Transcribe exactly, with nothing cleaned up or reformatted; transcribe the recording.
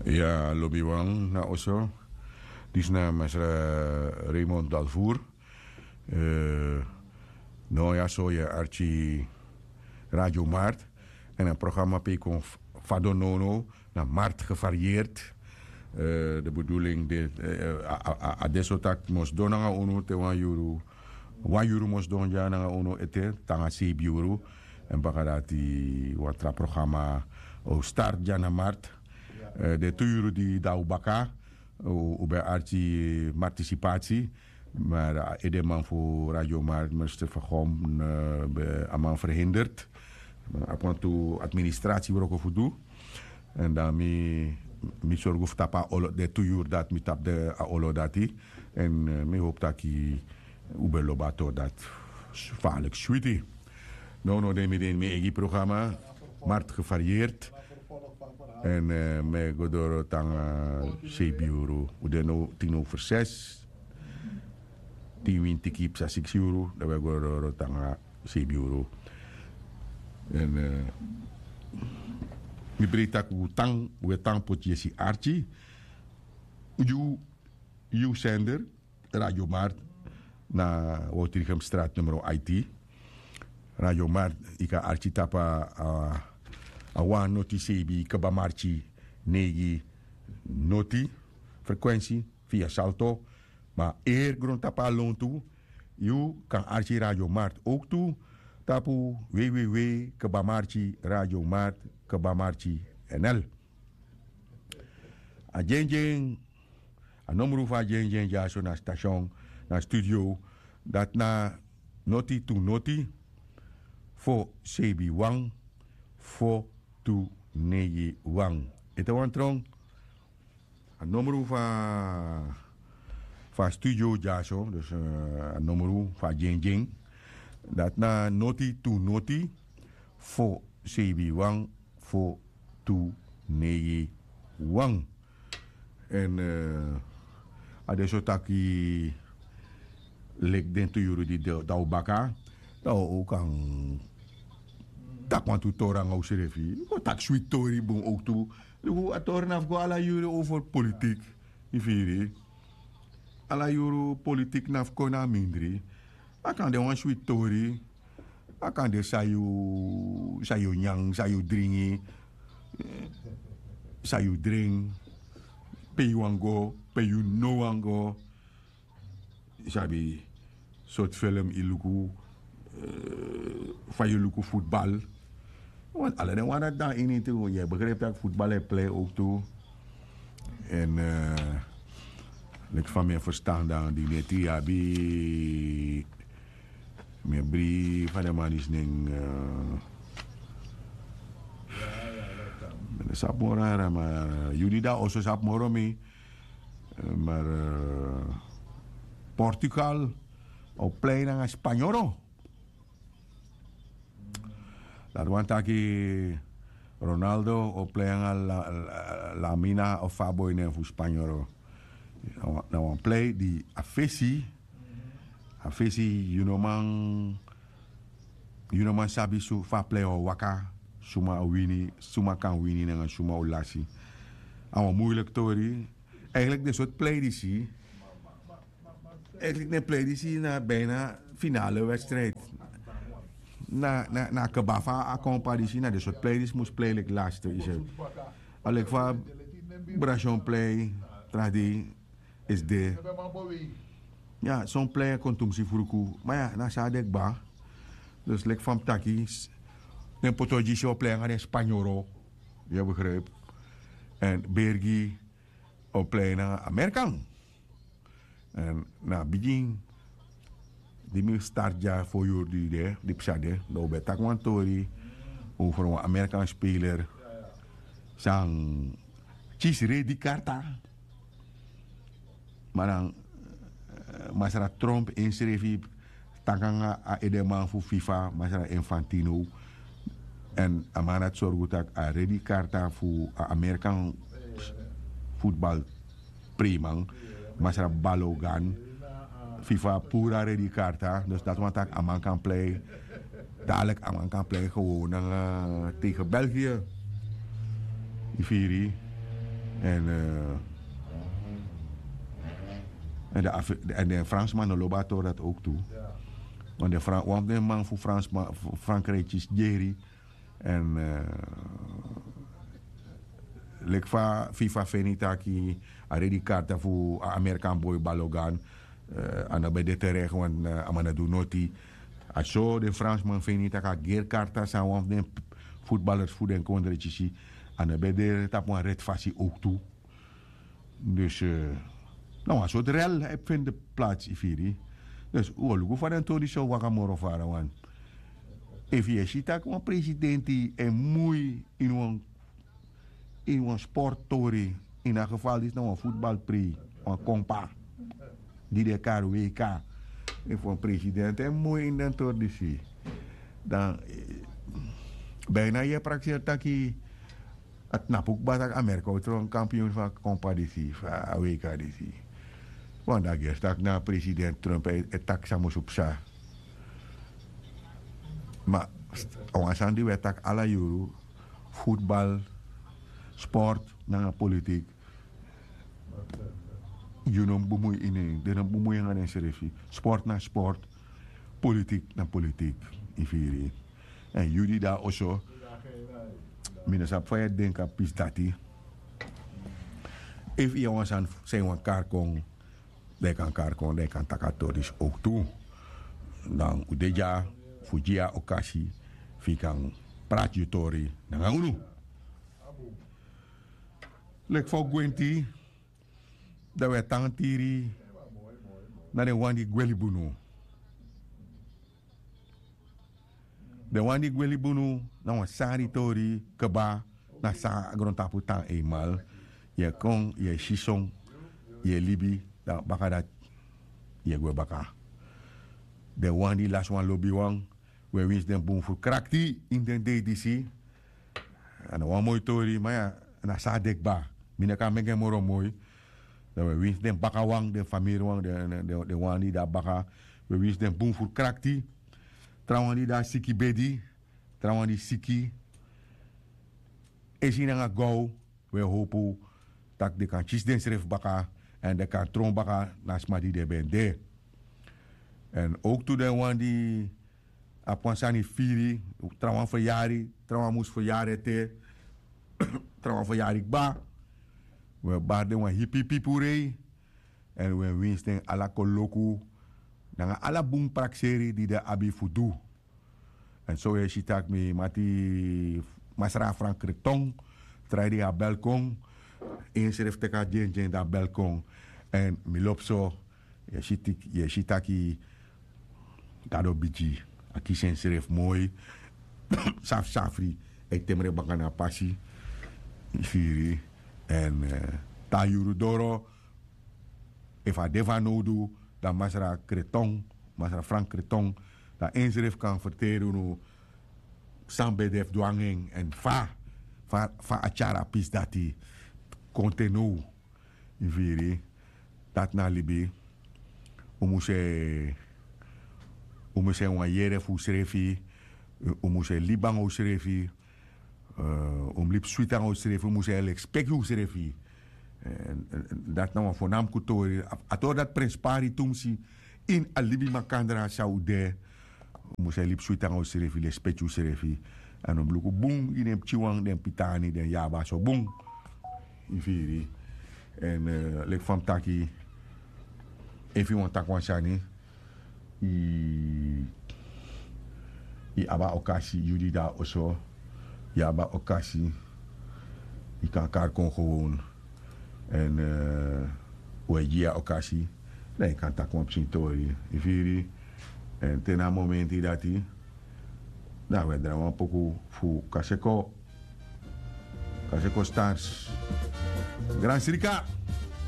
Ya, lobiwan na oso. Disna masra Raymond Dalvour. No ya so ya archi Radio Mart. En a programa pe kon fado nono na Mart gevarieerd. De bedoeling de a deso tak mos don nanga unu te wan yuru wan yuru mos don ya nanga unu ete tanga sebi yuru. En baka dati wan tra programa o start ya na Mart. De tu yuru di dan u baka u ben arti martisipati. Maar a edeman fu Radio Mart, minister Vergom, ben a man verhinderd. A kon tu administratie wroko fu du. En dan mi mi sorgu fu tapu a olo de tu yuru dati mi tapu de a olo dati. En mi hopu taki u ben lobi a tori dati. Falik switi. No no den mi den mi eigi programa. Mart gevarieerd. En mi e go doro tanga sebi yuru. U de no tin over ses. Tin win tiki psa siksi yuru dan we go doro tanga sebi yuru. En mi breiti tak' u tan we tan poti yesi arki. Yu yu sender Radio Mart na Woutrichem straat numero aiti. Radio Mart yu kan arki tapu a wan noti sebi kaba marki neigi noti frekwensi via salto. Ma eri grontapu a lontu yu kan arki Radio Mart ook tu tapu www kaba marki Radio Mart kaba marki nl. A dyendyen a nomru fu a dyendyen dyaso na station na studio. Dati na noti tu noti fo sebi wan fo tu neigi wan. Ete wan tron a nomru fu a studio dyaso dus a nomru fu a dyendyen. Dati na noti tu noti fo sebi wan fo tu neigi wan. En a de so taki leki den tu yuru di dan un baka dan un kan taki wantu tori nanga unsrefi. Yu go taki switi tori bun owktu. Luku a tori na fu go ala yuru over politik. Yu firi ala yuru politik na fu kon na a mindri. A kan de wan switi tori. A kan de san yu san yu nyan san yu dringi san yu dring pe yu wani go pe yu no wani go. Yu sabi sortu film yu luku fa yu luku futbal. Ala den wan dati dan ini tu yu e begripi tak' futbal e plei owktu. Èn leki fa mi e ferstan dan di neti yu abi mi e bri fa den man disi nen mi no sabi moro ara ma yu di dan oso sabi moro mi. Mar portugal o plei nanga spanyoro. Dati wani taki ronaldo o plei nanga lamina of a boi nen fu spanyoro. Na wan plei di a fesi a fesi yu no man yu no man sabi fu a plei o waka suma o wini suma kan wini nanga suma o lasi. A wan muiliki tori. Eigenlik den sortu plei disi eigenlik den plei disi na bina finale wedstrijd. Na a keba fu a kompa disi na den sortu plei disi mus plei leki laste yu se. A leki fa brasion plei tra dei esi de. Ya son plei kon tumsi fruku ma ya na san a de kba. Dus leki fa mi taki den poto gi si o plei nanga den spanyoro. Yu e begripi. Èn bergi o plei nanga amerikan. Èn na a bigin di mi start dya fo yuru di de di psa de dan un ben taki wan tori over wan amerikan speler. San kisi redi karta. Ma dan masra trump ensrefi taki nanga a edeman fu fifa masra infantino. Èn a man dati sorgu tak' a redi karta fu a amerikan futbal preiman masra balogan. Fifa puru a redi karta dus dati wani tak' a man kan plei. Dadilik a man kan plei gewon nanga tegen belgië. Yu firi. En den fransman no lobi a tori dati ouk tu. Want den wan fu den man fu fransman fu frankrijk kisi geri. En leki fa fifa feni taki a redi karta fu a amerikan boi balogan. A no ben de terek want a man no du noti. A so den fransman feni tak' a geri karta san wan fu den futbalers fu den kondre kisi. A no ben de tapu wan reti fasi ouk tu. Dus na wan sortu rel e feni de plats yu firi. Dus un o luku fa den tori disi o waka moro fara wan. Efu yu e si tak' wan presidenti e mui ini wan ini wan sporttori. Ini a geval disi na wan futbalprei, wan kompa di de kari wk. Efu wan presidenti e mui ini den tori disi, dan bijna yu e prakseri taki a tnapu kba tak' amerika o tron kampion fu a kompa disi fu a wk disi. Want dan gersi tak' na presidenti trump e taki san musu psa. Ma a wan sani di wi e taki ala yuru, futbal, sport nanga politik. Yu no mus bemui ini en den no mus bemui nanga densrefi. Sport na sport. Politik na politik. Yu firi? Èn yu di de na oso, mi no sabi fa yu e denki a pisi dati. Efu yu e wan sani san yu wani kari kon, dan yu kan kari kon dan yu kan taki a tori disi owktu. Dan un de dya fu gi yu a okasi fu yu kan prati yu tori nanga unu. Leki fa un gwenti, dan un e tan tiri na den wan di gwe libi unu. Den wan di gwe libi unu na wan sari tori kba. Na san a grontapu tan eimal. Yu e kon, yu e si son, yu e libi, dan baka dati yu e gwe baka. Den wan di lasi wan lobiwan, wi e winsi den bun fu krakti ini den dei disi. A no wan moi tori ma na san a de kba. Mi no kan meki en moro moi. Dan wi e winsi den bakawan, den famiriwan, den wan di de na baka. Wi e winsi den bun fu krakti. Trawan di de na siki bedi, trawan di siki, esi nanga gow. Wi e howpu tak' den kan kisi densrefi baka èn den kan tron baka na sma di den ben de. Èn owktu den wan di abi wan sani firi, trawan feryari, trawan mus feryari ete, trawan feryari kba. Wi e bari den wan hipihipi purei. Èn wi e winsi den ala koloku nanga ala bun prakseri di den abi fu du. Èn so wi e si tak' mi mati masra frank kreton, trai di a bel kon. Ensrefi teki a dyendyen di a bel kon. Èn mi lobi so, yu e si taki gado bigi, a kisi ensrefi moi. Safsafri e temre baka na a pasi. Firi. Èn te a yuru doro, efu a de fanowdu, dan masra kreton, masra frank kreton, dan ensrefi kan ferteri unu san ben de fu du nanga en èn fa fa a tyari a pisi dati kon te now. Yu firi? Dati na libi. Un mus e un mus e wan yere fu unsrefi. Un mus e libi nanga unsrefi. Un mus libi switi nanga unsrefi un mus e lespeki unsrefi. Dati na wan fonamku tori. A tori dati prenspari tumsi ini a libi makandra san un de. Un mus e libi switi nanga unsrefi lespeki unsrefi. Èn un mus luku bun gi den pikinwan den pitani den yabaso bun. Yu firi? Èn leki fa mi taki, efu yu wani taki wan sani, yu abi a okasi. Yu di de na oso, yu abi a okasi. Yu kan kari kon gewon. Èn un e gi yu a okasi, dan yu kan taki wan pikin tori. Yu firi? Èn te na a momenti dati, dan un e drai wan poku fu kaseko. Kaseko stars. Gran srika.